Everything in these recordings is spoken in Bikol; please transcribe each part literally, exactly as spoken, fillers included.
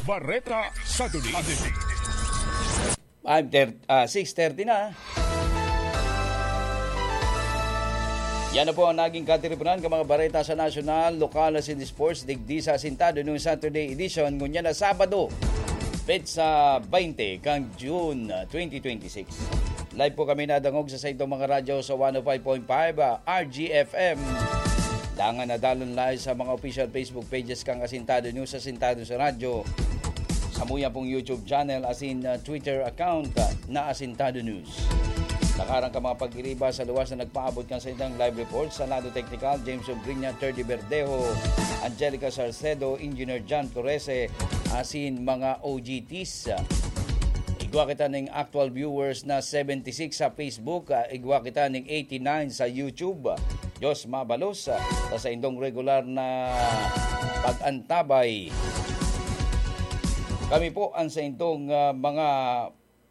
Bareta Saturday. Five thirty, ah, six thirty na. Yan na po ang naging katiriponan kan mga bareta sa nasyonal, lokal asin sports digdi sa Asintado nung Saturday edition, ngunyan na Sabado, petsa twenty kan June, ah, twenty twenty-six. Live po kami nadangog sa saitong mga radyo sa one oh five point five, ah, R G F M. Dangan na dalon live sa mga official Facebook pages kan Asintado News, Asintado sa Radyo, samuya pong YouTube channel asin, ah, Twitter account, ah, na Asintado News. Nakarang ka mga pagiriba sa luwas na nagpaabot kan saindang live report sa lado teknikal, James Ogriña, Terdy Verdejo, Angelica Salcedo, Engineer John Torrese, asin mga O G Ts. Igwa kita ning actual viewers na seventy-six sa Facebook, ah, igwa kita ning eighty-nine sa YouTube. Diyos mabalos, ah, sa saindong regular na pag-antabay. Kami po ang saindong, ah, mga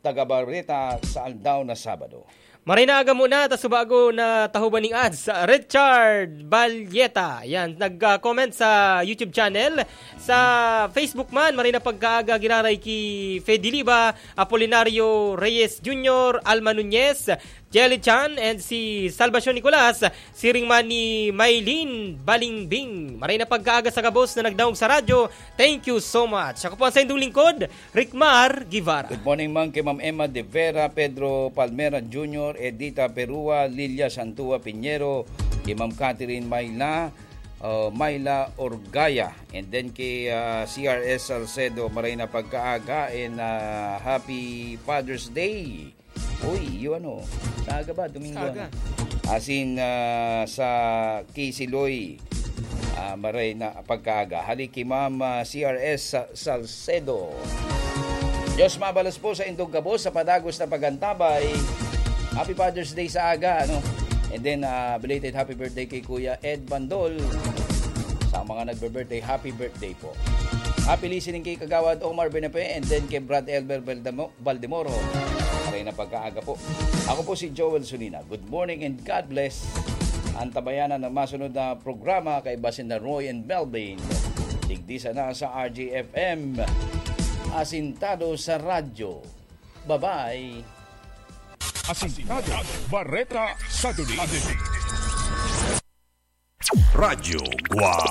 taga-bareta sa aldaw na Sabado. Maray na aga muna, ta subago na tahoban ning ads, Richard Balyeta. Yan, nag-comment sa YouTube channel. Sa Facebook man, maray na pagkaaga giraray ki Fediliba, Apolinario Reyes Junior, Alma Nunez, Jelly Chan, and si Salvacion Nicolas, siring man ni Maylene Balingbing. Maray na pagkaaga sa gabos na nagdaog sa radyo. Thank you so much. Ako po ang saindong lingkod, Ricmar Guevara. Good morning man kay Ma'am Emma De Vera, Pedro Palmera Junior, Edita Perua, Lilia Santua Piñero, kay Ma'am Catherine Mayla, uh, Mayla Orgaya, and then kay, uh, C R S Salcedo, maray na pagkaaga, and, uh, happy Father's Day. Uy, yung ano, sa aga ba? Domingo, Sa aga. ano? Asin, ah, sa Kisiloy, ah, maray na pagkaaga. Hali ki Ma'am, ah, C R S Sa-, Salcedo. Diyos mabalos po sa indong gabos sa padagos na pagantabay. Happy Father's Day sa aga, ano? And then, ah, belated happy birthday kay Kuya Ed Bandol. Sa mga nagbe-birthday, happy birthday po. Happy listening kay Kagawad Omar Benepe and then kay Brad Elber Baldemo-, Baldemoro. Maray na pagkaaga po. Ako po si Joel Sunina. Good morning and God bless. Antabayanan ang masunod na programa kaiba sinda Roy and Melvin. Digdi sana sa R G F M. Asintado sa radyo. Bye-bye. Asintado, Bareta Saturday. Radyo Guwang.